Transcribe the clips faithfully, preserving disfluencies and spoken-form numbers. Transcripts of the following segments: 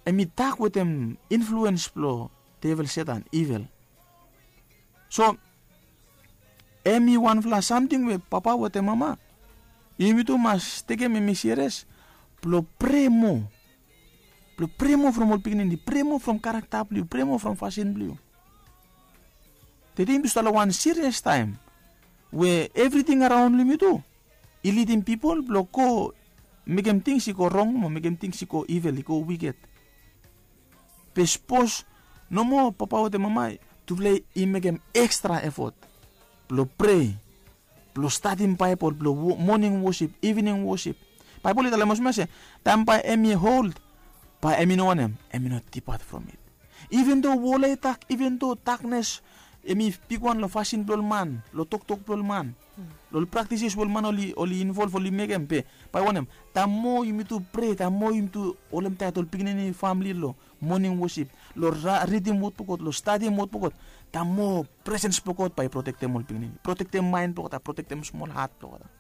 Em i tak wetem influens blong devel Setan, ivel. So em i wanfala samting we papa wetem mama, yumi tu mas tekem em i serias blong prea moa. Blong prea moa from ol pikinini, prea moa from karakta blong yu, prea moa from fasin blong yu. Tede yumi tu stap long wan serias taem we evriting araon long yumi tu i lidim pipol blong go mekem tings i go rong mo mekem tings i go ivel, i go wiket. Be sapos nomo papa wetem mama, tufala i mekem ekstra efot blong prea, blong stadim Baebol, blong moning wosip, ivining wosip. Baebol i talem olsem ya se taem bae em i hold, bae em i no wanem, em i no dipat from it. Iven do wol ya i dak, iven do daknes em i bigwan long fasin blong ol man, long toktok blong ol man, long ol praktises we ol man oli involv, oli mekem, be bae wanem, taem moa yumi tu prea, taem moa yumi tu holem taet ol pikinini, famili long moning wosip, long ridim wod blong God, long stadim wod blong God, taem moa presens blong God bae i protektem ol pikinini, protektem maen blong olgeta, protektem smol hat blong olgeta.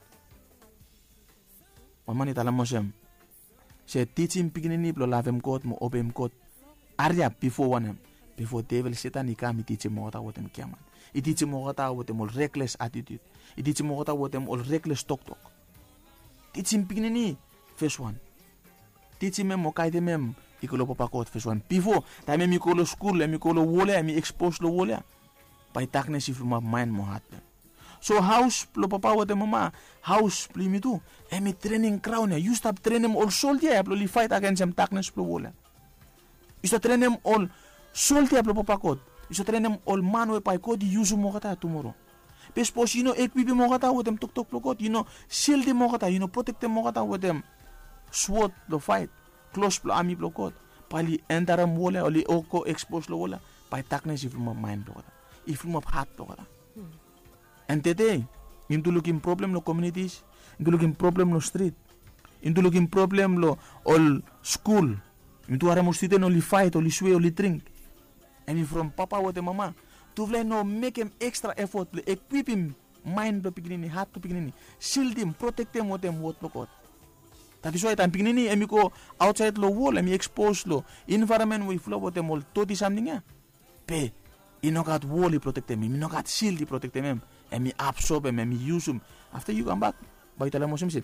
Wan man i talem olsem se tijim pikinini blong lavem God mo obeim God hariap bifo wanem, bifo devel Setan i kam i tijim olgeta wetem giaman, i tijim olgeta wetem ol rekles atitiut, i tijim olgeta wetem ol rekles toktok. Tijim pikinini, fes wan. Tijim em o gaedem em i go long papa God, fes wan. Bifo taem em i go long skul, em i go long wol ya, em i ekspos long wol ya, bae daknes i fulumap maen mo hat blong em. So haos blong papa wetem mama, haos blong yumi tu, em i trening graon ya. Yu stap trenem ol soldia ya blong oli faet agensem daknes blong wol ya. Yu stap trenem ol soldia blong papa God. Yu stap trenem ol man we bae God i yusum olgeta ya tumoro. Be sapos yu no ekwipim olgeta wetem toktok blong God, yu no sildim olgeta, yu no protektem olgeta wetem swod blong faet, klos blong ami blong God, bae oli entarem wol ya, oli go ekspos long wol ya, bae daknes i fulumap maen blong olgeta, i fulumap hat blong olgeta. An tede yumi tu lukim problem long komunitis, yumi tu lukim problem long strit, yumi tu lukim problem long ol skul. Yumi tu harem ol studen oli faet, oli swe, oli dring. Em i from papa wetem mama, tufala i no mekem ekstra efot blong ekwipim maen blong pikinini, hat blong pikinini, sildim, protektem wetem wod blong God. That is why taem pikinini em i go aotsaed long wol, em i ekspos long envaeronmen we i fulap wetem ol doti samting ya, be i no gat wol i protektem em, i no gat sild i protektem em. Em i absobem, em i yusum. Afta yu kambak, bae yu talem olsem se,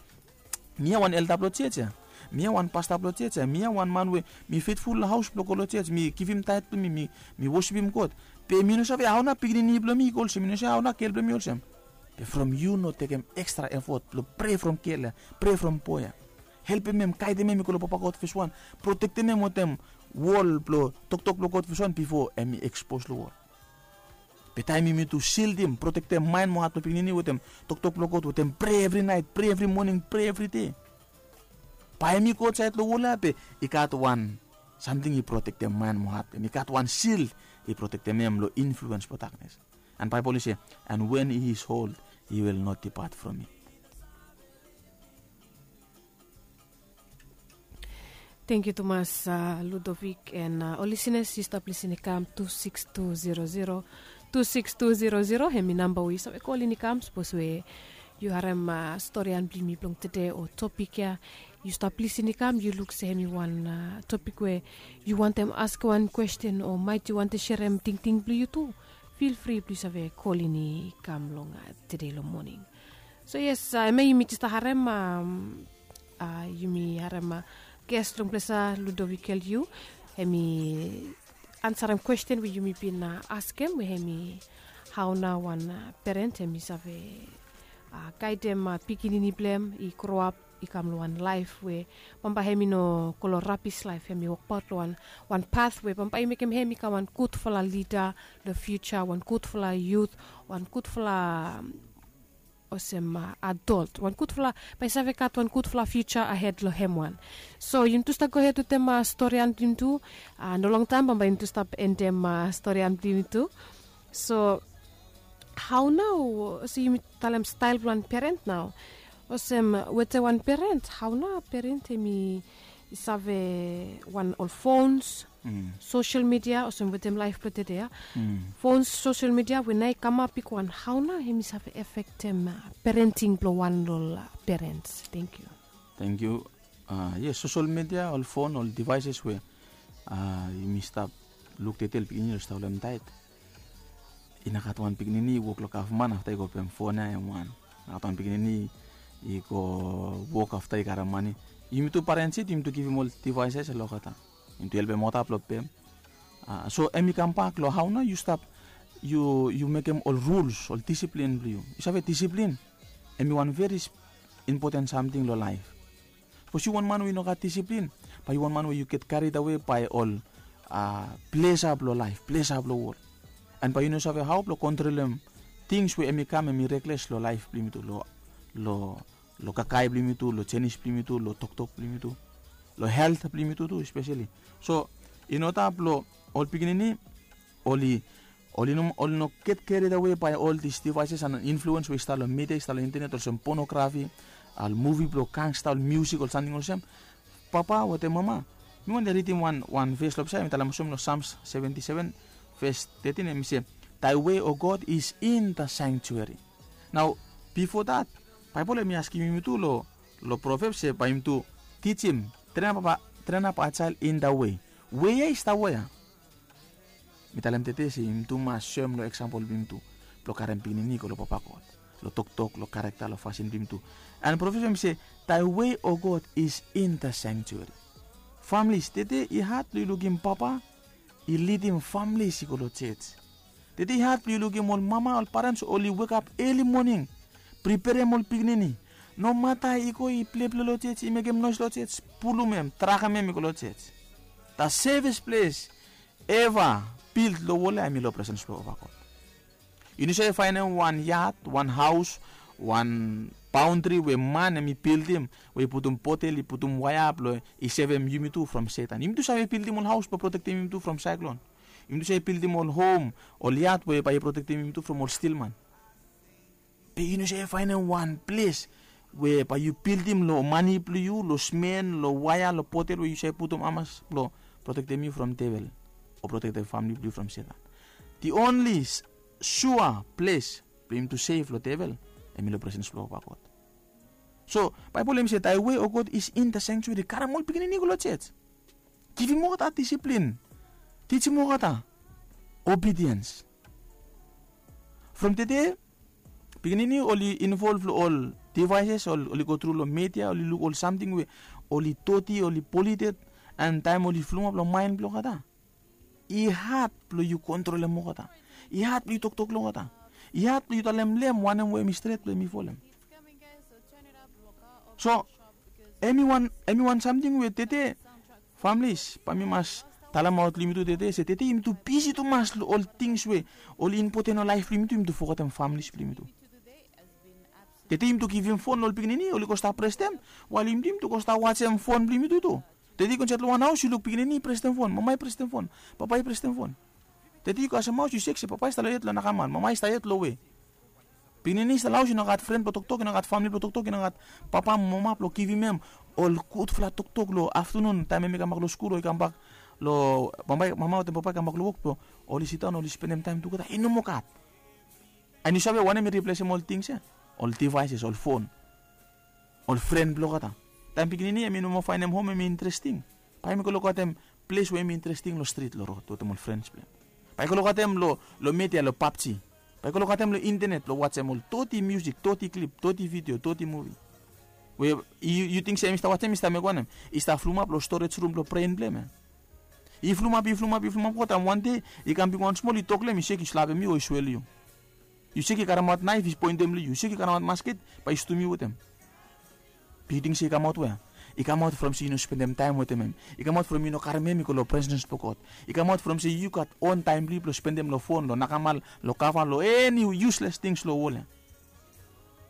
mi ya wan elda blong jos ya, mi ya wan pasta blong jos ya, mi ya wan man we mi fetful long haos blong go long jos, mi givim taet blong mi, mi wosipim God. Be mi no save hao nao pikinini blong mi i go olsem, mi no save hao nao gel blong mi olsem. Be from yu no tekem ekstra efot blong prea from gel ya, prea from boe ya, helpem em, gaedem em i go long papa God fes wan, protektem em wetem wol blong toktok blong God fes wan bifo em i ekspos long wol. Be taem yumi tu sildim, protektem maen mo hat blong pikinini wetem toktok blong God, wetem prea evri naet, prea evri moning, prea evri dei, bae em i go aotsaed long wol ya, be i gat wan samting i protektem maen mo hat blong em, i gat wan sild i protektem em long influens blong daknes. An Baebol i se, and when he is hold, he will not depart from it. Tangkiu tumas, Ludovic, an ol lisenas, yu stap lisin i kam tu sikis tu zero zero, tu sikis tu zero zero, hemi namba we yu save kolin i kam sapos we yu harem storian blong yumi blong tede o topik ya. Yu stap lisin i kam, yu luk se hemi wan topik we yu wantem askem wan kwesten o maet yu wantem serem tingting blong yu tu, fil fri blong yu save kolin i kam long tede long moning. So yes, hemia yumi jes harem, yumi harem ges long ples ya, Ludovic Eliu. Hemi ansarem kwesten we yumi bin askem, we hemi hao nao wan peren hemi save gaedem pikinini blong hem i groap i kam long wan laef we bambae hemi no go long rabis laef, hemi wokbaot long wan, wan pat we bambae i mekem hem i kam wan gudfala lida long fiuja, wan gudfala yut, wan gudfala olsem adol, wan gudfala, bae i save gat wan gudfala fiuja ahed long hem wan. So yumi tu stap gohed wetem storian blong yumi tu. No longtaem bambae yumi tu stap endem storian blong yumi tu. So hao nao, olsem yumi talem stael blong wan peren nao, olsem wetem wan peren, hao nao peren hemi save wan ol fons, sosel midia, olsem wetem laef blong tede ya, fons, sosel midia we nao i kamap i go wan, hao nao hemi save efektem perenting blong wan long ol peren? Tangkiu. Tangkiu. Yes, sosel midia, ol fon, ol devaeses we A, yumi stap luk tete ol pikinini oli stap holem taet. I no gat wan pikinini i wok long gavman afta i go pem fon ya hem wan. I no gat wan pikinini i go wok afta i karem mane. Yumi tu parents yet yumi tu givim ol devices long olgeta. Yumi tu helpem olgeta blong pem. A, so hem i kambak long hao nao yu stap yu yu mekem ol rules, ol disiplin blong yu. Yu save disiplin hem i wan veri impoten samting long laef. Sapos yu wan man we yu no gat disiplin, bae yu wan man we yu get carried away bae ol a, plesa blong laef, plesa blong wol. An bae yu no save hao blong kontrolem tings we hem i kam hem i rekles long laef blong yumi tu, long long long kakae blong yumi tu, long jenis blong yumi tu, long toktok blong yumi tu, long helt blong yumi tu tu espeseli. So i no tap long ol pikinini oli oli no oli no get carried away bae ol dis devices an influens we i stap long media, i stap long intenet, olsem ponografi, ol muvi blong gangsta, ol miusik, ol samting olsem. Papa wetem mama, mi wantem ridim wan wan ves long pesa hem i talem olsem long Psalms seventy seven ves thirteen hem i se, thy way, O God, is in the sanctuary. Nao bifo dat, Baebol hem i askem yumi tu long long Proverbs se bae yumi tu tijim, train up a child in the way. Wei ya i stap wea? Mi talem tede se yumi tu mas soem long eksampol blong yumi tu blong karem pikinini i go long Papa God, long toktok, long karakta, long fasin blong yumi tu. An Proverbs hem i se, thy way, O God, is in the sanctuary. Familis, tede i had blong yu lukim papa i lidim familis i go long jej. Tede i had blong yu lukim ol mama, ol parens oli wekap eli moning, priperem ol pikinini. Nomata i go i pleple long jej, i mekem noes long jej, pulum hem, trakem hem i go long jej. The safest place eva bild long wol ya hem i long presens blong Papa God. Yu no save faenem wan yad, wan haos, wan baondri we man hem i bildim, we i putum potel, i putum waea blong i sevem yumi tu from Setan. Yumi tu save bildim ol haos blong protektem yumi tu from saeklon. Yumi tu save bildim ol hom, ol yad we bae i protektem yumi tu from ol stilman. Be yu no save faenem wan ples we bae yu bildim long mane blong yu, long smen, long waea, long potel we yu save putum hamas blong protektem yu from devel o protektem famili blong yu from Setan. The only sua ples blong yumi tu sef long devel hem i long presens blong Papa God. So Baebol hem i se, thy way, O God, is in the sanctuary. Karem ol pikinini i go long jej. Givim olgeta disiplin. Tijim olgeta obediens. From tede pikinini oli involv long ol devices, oli go tru long media, oli luk ol samting we oli doti, oli polited. An taem oli flumap long maen blong olgeta, i had blong yu kontrolem olgeta. I had blong yu toktok long olgeta. I had blong yu talem long hem wanem we hem i stret blong hem i folem. So hem i wan hem i wan samting we tede familis bae mi mas talemaot long yumi tu tede se tede yumi tu bisi tumas long ol tings we oli impoten long laef blong yumi tu, yumi tu fogetem familis blong yumi tu. Tede yumi tu givim fon long ol pikinini, oli go stap prestem, wael yumi tu yumi tu go stap wajem fon blong yumi tu tu. Tede yu go insaed long wan haos yu luk pikinini i prestem fon, mama i prestem fon, papa i prestem fon. Tede yu kasem haos yu sek se papa i stap long yet long nakamal, mama i stap yet long we. Pikinini i stap long haos i no gat fren blong toktok, i no gat famili blong toktok, i no gat papa mo mama blong givim hem ol gudfala toktok long aftanun taem hem i kambak long skul o i kambak long mama wetem papa i kambak long wok blong oli sidaon oli spendem taem tugeta, i no moa gat. An yu save wanem i riplesem ol tings ya? Ol devices, ol fon, ol fren blong olgeta. Taem pikinini hem i no moa faenem hom hem i interesting, bae hem i go lokaotem ples we hem i interesting long strit, long rod wetem ol frens blong hem. Bae i go lokaotem long media, long PUBG. Bae i go lokaotem long intenet blong wajem ol doti miusik, doti klip, doti vidio, doti muvi. We yu ting se hem i stap wajem i stap mekem wanem? I stap flumap long storej rum blong bren blong hem ya. I flumap, i flumap, i flumap go taem wan dei i kam bigwan smol, i tok long hem, i sek i slapem yu o i swel yu. Yu sek i karemaot naef i poentem long yu, yu sek i karemaot masket bae i stum yu wetem. Be yu ting se i kamaot wea? I kamaot from se yu no spendem taem wetem hem. I kamaot from yu no karem hem i go long presens blong God. I kamaot from se yu gat on taem blong yu blong spendem long fon, long nakamal, long kava, long eni yusles tings long wol ya.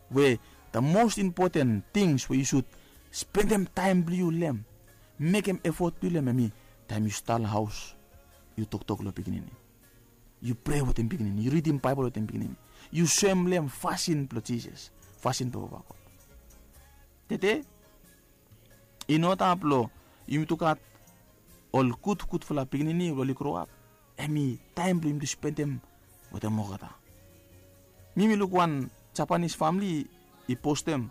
We the most impoten tings we yu sud spendem taem blong yu long hem, mekem efot blong yu long hem, hem i taem yu stap long haos yu toktok long pikinini, yu prea wetem pikinini, yu ridim Baebol wetem pikinini, yu soem long hem fasin blong Jisas, fasin blong Papa God. Tede i no tap long yumi tu gat ol gudgudfala pikinini we oli groap, hem i taem blong yumi tu spendem wetem olgeta. Mi mi luk wan Japanis famili i postem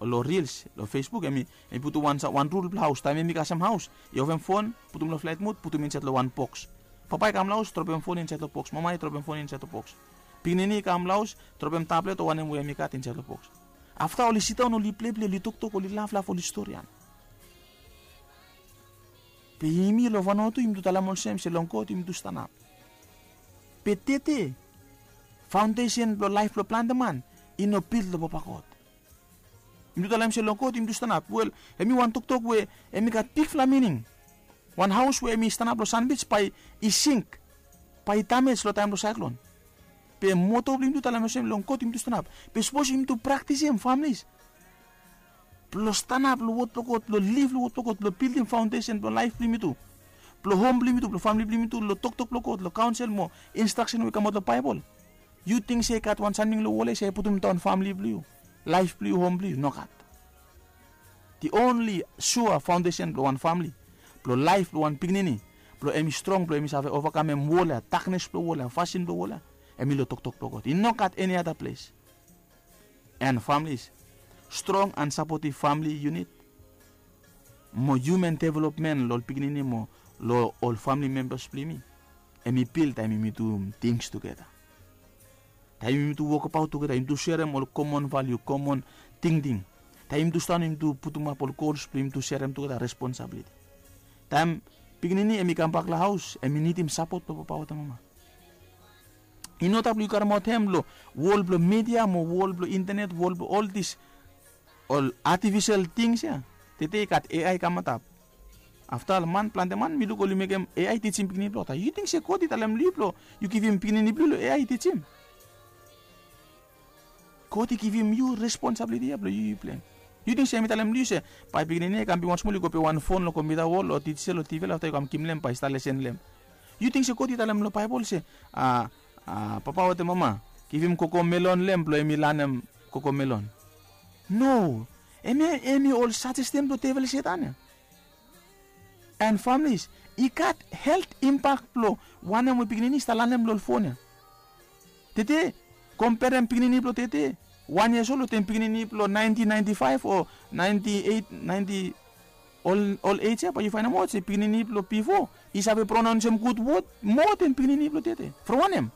long rils long Facebook, em i putum wan rul blong haus. Taem em i kasem haus, i ofem fon, putum long flaet mud, putum insaet long wan boks. Papa i kam long haus, dropem fon insaet long boks. Mama i dropem fon insaet long boks. Pikinini i kam long haus, dropem tablet o wanem we em i gat insaet long boks. Afta oli sidaon, oli pleple, oli toktok, oli laflaf, oli storian. Be yumi long Vanuatu yumi tu talem olsem se long God yumi tu stanap. Be tete, faondesen blong laef blong plante man i no bil long Papa God. Yumi tu talem se long God yumi tu stanap. Wel, em i wan toktok we em i gat bigfala mining. Wan haos we em i stanap long sanbij bae i sink, bae i damej long taem blong saeklon. Be moto blong yumi tu talem olsem long God yumi tu stanap. Be sapos yumi tu praktisim, familis, blong stanap long wod blong God, blong liv long wod blong God, blong bildim faondesen blong laef blong yumi tu, blong hom blong yumi tu, blong famle blong yumi tu, long toktok blong God, long kaonsel mo instraksen we i kamaot long Baebol. Yu ting se i gat wan samting long wol ya se i putum daon famle blong yu, laef blong yu, hom blong yu? Nogat. The only sua faondesen blong wan famle, blong laef blong wan pikinini, blong em i strong, blong em i save ovakamem wol ya, daknes blong wol ya, fasin blong wol ya, em i long toktok blong God. I nogat eni ada ples. And families, strong and supportive family unit mo human development long ol pikinini mo long ol family members blong yumi, em i bil taem yumi tu things tugeta. Taem yumi tu wokabaot tugeta, yumi tu serem ol common value, common tingting. Taem yumi tu stan, yumi tu putumap ol gols blong yumi tu serem tugeta responsibility. Taem pikinini em i kambak long haos, em i nidim sapot blong papa wetem mama. I no stap long yu karemaot hem long wol blong media mo wol blong intenet, wol blong ol dis, ol artificial things ya. Tede i gat A I i kamantap. Afta ol man, plante man, mi luk oli mekem A I tijim pikinini blong olgeta. Yu ting se God i talem long yu blong yu givim pikinini blong yu long A I i tijim? God i givim yu responsibility ya blong yu, yu plem. Yu ting se mi talem long yu se bae pikinini ya i kam bigwan smol, i go pet wan fon long kompiuta wol o digital o T V, afta yu kam givim long hem bae i stap lesen long hem? Yu ting se God i talem long Baebol se, a, a, papa wetem mama, givim kokomelon long hem blong hem i lanem kokomelon? No. Hemia, hemi ol sajestin blong devel Setan ya. And families, i gat helt impak blong wanem we pikinini i stap lanem long ol fon ya. Tede, komperem pikinini blong tede, wan years old wetem pikinini blong nineteen ninety-five o ninety-eight, ninety, ol, ol age ya, bae yu faenemaot se pikinini blong bifo i save pronaonsem gud wod moa den pikinini blong tede. From wanem?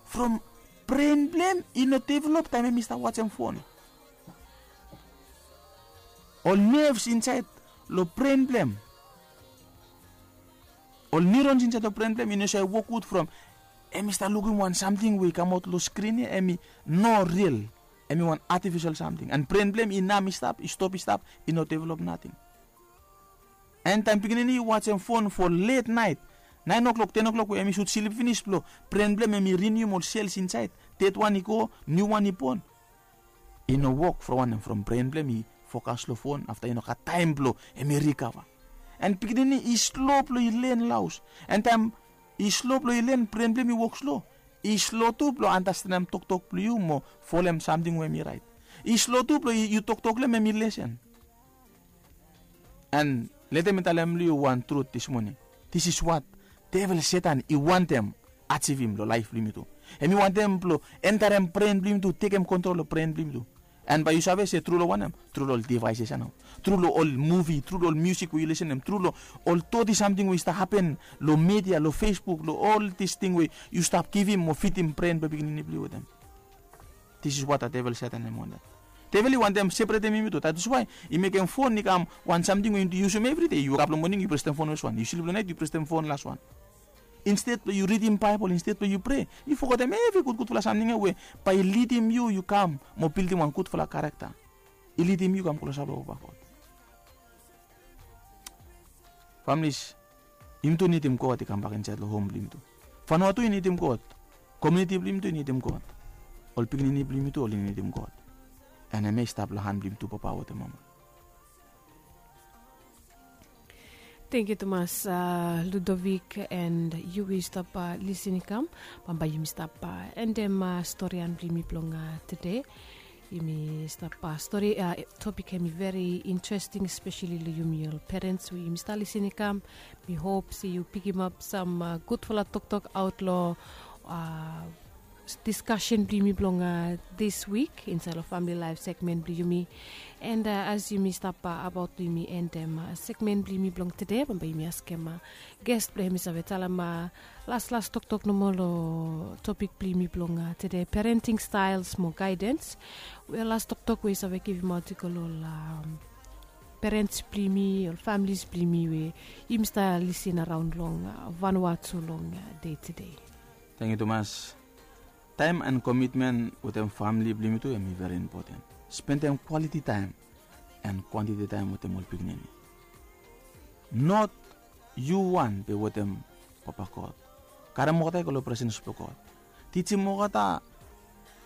From bren blong hem i no develop taem hem i stap wajem fon. Ol nerves insaed long bren blong hem, ol neurons insaed long bren blong hem i no save wok gud from hem i stap lukim wan samting we i kamaot long skrin ya, hem i no ril. Hem i wan artificial samting. And bren blong hem i nam i stap, i stop i stap, i no develop nating. And taem pikinini i wajem fon for late night, naen o'clock, ten o'clock, we hem i sud slip finis, blong bren blong hem hem i rinium ol sels insaed. Dedwan i go, niuwan i bon. I no wok from wanem? From bren blong hem i fokas long fon, afta i no gat taem blong hem i rikava. And pikinini i slo blong i len long haos. And taem i slo blong i len, bren blong hem i wok slo. I slo tu blong andastanem toktok blong yu mo folem samting we hem i raet. I slo tu blong yu toktok long hem, hem i lesen. And letem mi talem long yu wan trut dis moning. This is what devel Setan i wantem ajivim long laef blong yumi tu. Hem i wantem blong entarem bren blong yumi tu, tekem kontrol long bren blong yumi tu. And bae yu save se tru long wanem? Tru long ol devaeses ya nao. Tru long ol muvi, tru long ol musik we yu lisenem, tru long ol doti samting we i stap hapen long media, long Facebook, long ol dis ting we yu stap givim mo fidim bren blong pikinini blong yu wetem. This is what a devel Setan hem i wantem. Devel i wantem separatem yumi tu. That is why i mekem fon i kam wan samting we yumi tu yusum evri dei. Yu wokap long moning, yu presem fon, laswan. Yu slip long naet, yu presem fon, laswan. Insted blong yu ridim Baebol, insted blong yu prea, yu fogetem evri gudgudfala samting ya we bae i lidim yu, yu kam mo bildim wan gudfala karakta. I lidim yu kam klosap long Papa God. Familis, yumi tu nidim God i kambak insaed long hom blong yumi tu. Vanuatu i nidim God. Komuniti blong yumi tu i nidim God. Ol pikinini blong yumi tu oli nidim God. And hemia i stap long han blong yumi tu, papa wetem mama. Tangkiu tumas, a, Ludovic, and yu we yu stap, a, lisin i kam. Bambae yumi stap, a, endem, a, storian blong yumi blong, a, tede. Yumi stap, a, stori, a, topik hemi veri interesting, espeseli long yumi ol perens we yumi stap lisin i kam. Mi hop se yu pikimap sam, a, gudfala toktok aot long, a, diskasen blong yumi blong dis wik insaed long famili laef segmen blong yumi. And as yumi stap abaot blong yumi endem segmen blong yumi blong tede, bambae yumi askem ges blong hem i save talem laslas toktok nomo long topik blong yumi blong tede, parenting staels mo gaedens. We las toktok we i save givimaot i go long ol perens blong yumi, ol familis blong yumi we yumi stap lisin araon long vanua tu long dei tede. Tangkiu tumas. Taem and komitmen wetem famili blong yumi tu hem i veri impoten. Spendem kwaliti taem and kwantiti taem wetem ol pikinini. Not yu wan be wetem papa god. Karem olgeta i go long presens blong god. Tijim olgeta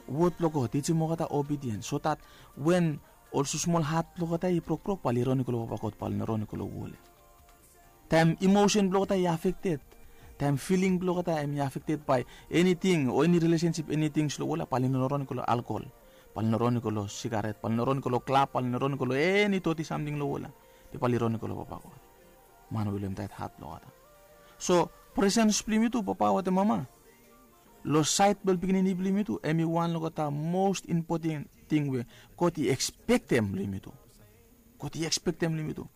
wod blong god, tijim olgeta obidiens so dat wen ol susmol hat blong olgeta i brokbrok bae oli ron i go long papa god, bae oli no ron i go long wol ya. Taem imosen blong olgeta i afekted, taem filing blong olgeta hem i afekted bae eniting o eni rilesensip, eniting long wol ya, bae oli no ron i go long alkol, bae oli no ron i go long sigaret, bae oli no ron i go long klab, bae oli no ron i go long eni toti samting long wol ya. Be bae oli ron i go long papa god, man we i lem taet hat blong olgeta. So presens blong yumi tu papa wetem mama long saed blong ol pikinini blong yumi tu hem i wan long olgeta mos impoten ting we god i ekspektem long yumi tu. God i ekspektem long yumi tu.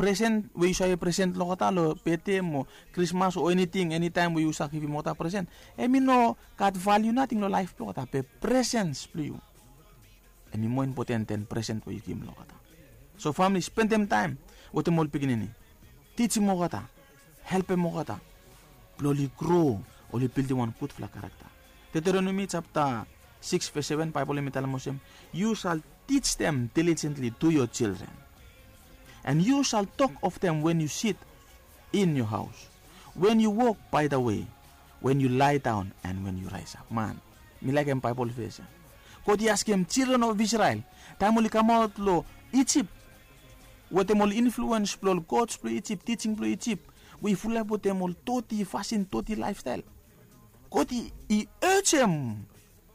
Presen we yu save presen long olgeta long bete mo krismas o eniting, enitaem we yu save givim olgeta presen, hem i no gat valiu nating long laef blong olgeta, be presens blong yu hem i moa impoten den presen we yu givim long olgeta. So famili, spendem taem wetem ol pikinini. Tijim olgeta, helpem olgeta blong oli gro, oli bildim wan gudfala karakta. Deteronomi japta sikis ves seven, Baebol hem i talem olsem, "You shall teach them diligently to your children, and you shall talk of them when you sit in your house, when you walk by the way, when you lie down, and when you rise up." Man, mi laekem Baebol ves ya. God i askem children of Israel, taem oli kamaot long Ijip, wetem ol influens blong ol gods blong Ijip, tijing blong Ijip, we i fulap wetem ol toti fasin, toti laefstael. God i, i ejem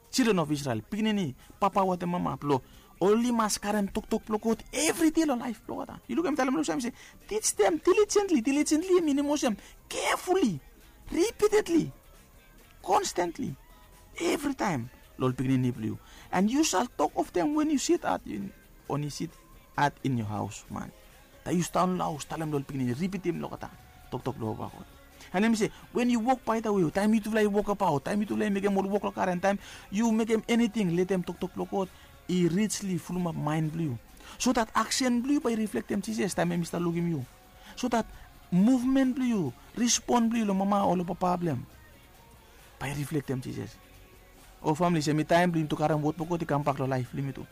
children of Israel, pikinini, papa wetem mama, blong oli mas karem toktok blong God evri dei long laef blong olgeta. Yu lukim, talem long sam se, "Teach them diligently." Diligently i minim olsem, carefully, repeatedly, constantly, evritaem long ol pikinini blong yu. "And you shall talk of them when you sit at in, when you sit at in your house, man." Taem yu sidaon long haos, talem long ol pikinini, ripitim long olgeta toktok blong papa God. And hem i se, "When you walk by the way," taem yutufala i wokabaot, taem yutufala i mekem ol wok long garen, taem yu mekem eniting, letem toktok blong God i richly fulumap maen blong yu, so dat aksen blong yu bae i riflektem Jisas taem hem i stap lukim yu, so dat muvmen blong yu, rispon blong yu long mama o long papa blong hem bae i riflektem Jisas. O famili, se mi taem blong yumi tu karem wod blong God i kambak long laef blong yumi tu,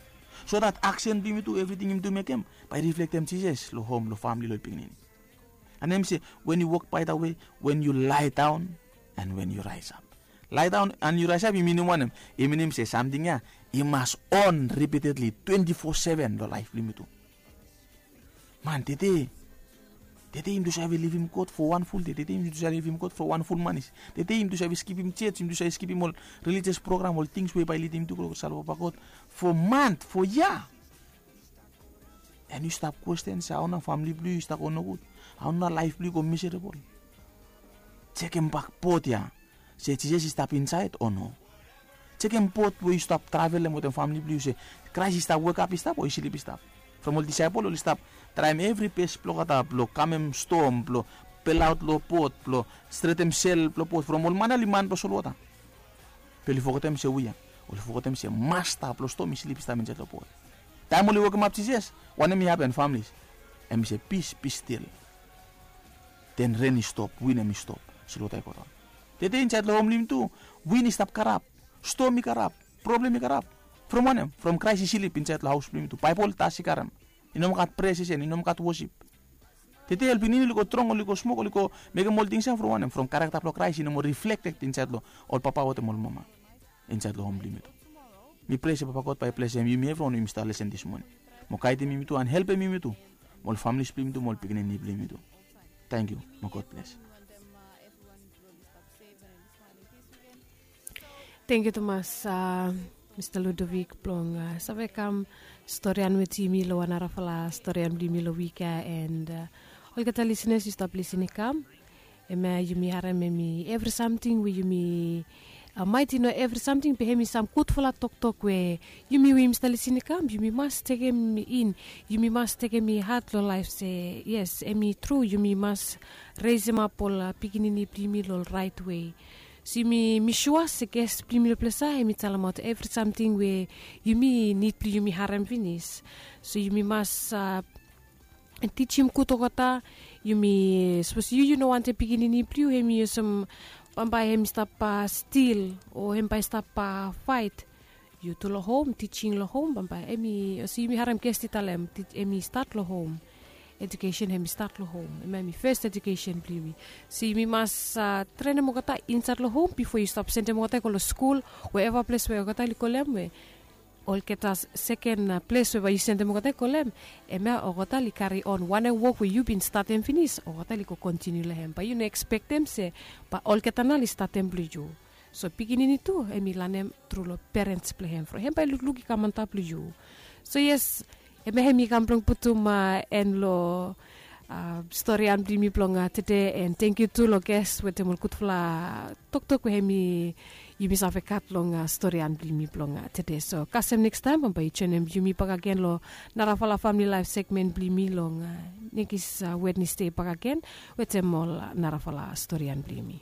so dat aksen blong yumi tu, evriting yumi tu mekem, bae i riflektem Jisas long hom, long famili, long pikinini. And hem i se, "When you walk by the way, when you lie down, and when you rise up." Lie down and you rise up i minim wanem? I minim se samting ya i mas on repeatedly, twenti fo seven long laef blong yumi tu. Man, tede, tede yumi tu save livim God fo wan ful dei. Tede yumi tu save livim God fo wan ful manis. Tede yumi tu save skipim jos, yumi tu save skipim ol relijios program, ol tings we bae i lidim yumi tu go long save papa God fo mant, fo yia. And yu stap kwesten se hao nao famili blong yu i stap go nogud, hao nao laef blong yu i go miserabol. Jekembak bod ya, se Jisas i stap insaed o no? Jekem bod we yu stap travelem wetem famili blong yu, se Kraes i stap wekap i stap o i slip i stap? From ol disaepol oli stap traem evri bes blong olgeta blong kamem stom, blong belaot long bod, blong stretem sel blong bod, from ol man ya oli man blong solwota. Be oli fogetem se we ya, oli fogetem se masta blong stom i slip i stap insaed long bod. Taem oli wokemap Jisas, wanem i hapen, famili? Hem i se, "Peace, be still." Den ren i stop, win hem i stop, solwota i godaon. Tede insaed long hom blong yumi tu, win i stap karap, stom i karap, problem i karap. From wanem? From Kraes i slip insaed long haos blong yumi tu. Baebol tas i karem. I no moa gat prea sesen, i no moa gat wosip. Tede ol pikinini oli go drong, oli go smok, oli go mekem ol tings ya from wanem? From karakta blong Kraes i no moa riflekted insaed long ol papa wetem ol mama, insaed long hom blong yumi tu. Mi prea se papa God bae i blesem yumi evriwan we yumi stap lesen dis moning, mo gaedim yumi tu and helpem yumi tu, mo ol familis blong yumi tu, mo ol pikinini blong yumi tu. Tangkiu, mo God bles. Tangkiu tumas, Mista Ludovic, blong save kam storian wetem yumi long wan narafala storian blong yumi long wik ya. And olgeta lisenas, yu stap lisin i kam, hemia yumi harem hemi evri samting we yumi Maet i no evri samting be hem i sam gudfala toktok we yumi we yumi stap lisin i kam, yumi mas tekem in, yumi mas tekem i hat long laef se yes, hem i tru, yumi mas resemap ol pikinini blong yumi long raet wei. So yumi mi sua se ges blong yumi long ples ya hem i talemaot evri samting we yumi nid blong yumi harem finis. So yumi mas tijim gud olgeta. Yumi sapos yu yu no wantem pikinini blong yu hem i olsem bambae hem i stap stil o hem bae i stap faet. Yu tu long hom, tijing long hom bambae hem i olsem yumi harem gesti talem hem i stat long hom. Ejukesen hem i stat long hom hem hem i fes ejukesen blong yumi. So yumi mas trenem olgeta insait long hom bifo yu stap sendem olgeta i go long skul, we eva ples we olgeta oli kolem we olgeta seken ples we bae yu sendem olgeta i kolem, hemia olgeta oli kari on wanem wok we yu bin statem finis olgeta oli go kontiniu long hem bae yu no ekspektem se bae olgeta nao oli statem blong yu. So pikinini tu hem i lanem tru long perens blong hem from hem bae lukluk i kam antap long yu. So yes, hemia hem i kam blong putum en long storian blong yumi blong tede. En tengkiu tu long ges wetem ol gudfala toktok we hem i yumi save gat long storian blong yumi blong tede. So kasem nekstaem bambae yu joenem yumi bakagen long narafala famili laef segmen blong yumi long nekis wednesde bakagen wetem ol narafala storian blong yumi.